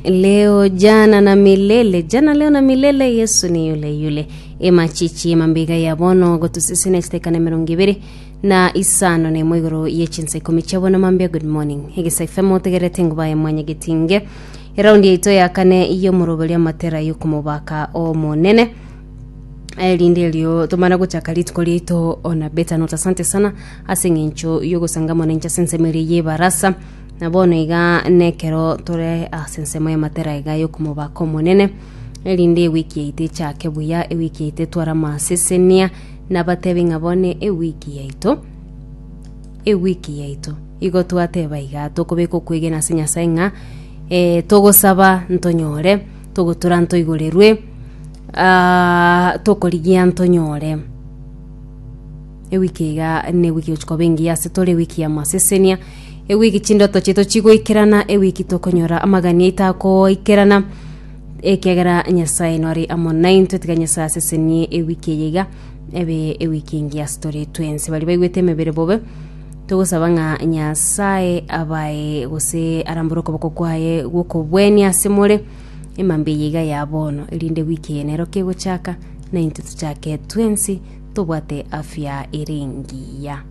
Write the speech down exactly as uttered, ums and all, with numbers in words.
Leo jana na milele, jana leo na milele, Yesu ni yule yule. Emachichi emambiga ya bono gotusisina chitekana emerongo ibere na isano na emo igoro ye chinsa ikomi chia bono mambia. Good morning egesa FM, otegerete enguba ya mwanyagetinge, eraundi yaito ya kane y'omoroberi amatera y'okomobaka omonene, erinde erio tomana gochaka rituko riaito ona beta note. Asante sana ase eng'encho yogosangamana inche ase ensemo eria y'ebarasa. Na bono iga nekero tore ase ensemo y'amatera iga y'okomobaka omonene, erinde ewiki yaito echake buya, ewiki yaito etware amasesenia. Nabatebi ng'a bono ewiki yaito, ewiki yaito igo twateba iga tokobeka okwegena ase Nyasaye ng'a eh, togosaba ntonyore, togotura ntoigorerwe, ah, tokorigia ntonyore. Ewiki iga ne ewiki gochia koba engiya ase tore, ewiki ya masesenia, ewiki chindoto chiaito chigoikerana, ewiki tokonyora amagani aito akoikerana, ekiagera Nyasaye nore amo naintwe. Tiga Nyasaye asesenie ewiki eye iga ebe ewiki engiya ase tore twensi. Baria baigwete emebere bobe, togosaba ng'a Nyasaye abae gose arambore okoboko kwaye gwokobwenia ase more emambia eye iga ya bono, erinde wiki eye nero kegochaka naintwe tochake twensi tobwate afya ere engiya.